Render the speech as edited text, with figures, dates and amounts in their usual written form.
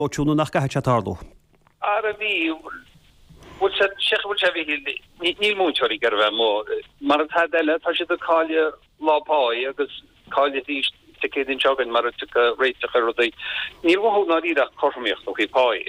Tú nó nach gcaithfidh sé tarlú? Ara bhí, bhfuil sé, séach bhfuil sé a Mhichíl, níl múinteoirí ag iarraidh a bheith amuigh. Mar atá eile, tá siad ag cailleadh lá páí agus cailleadh arís Dé Céadaoin seo chugainn mara dtiocfaidh réiteach ar rudaí. Níl uathu i ndáiríre ach cothromaíocht ó thaobh páí.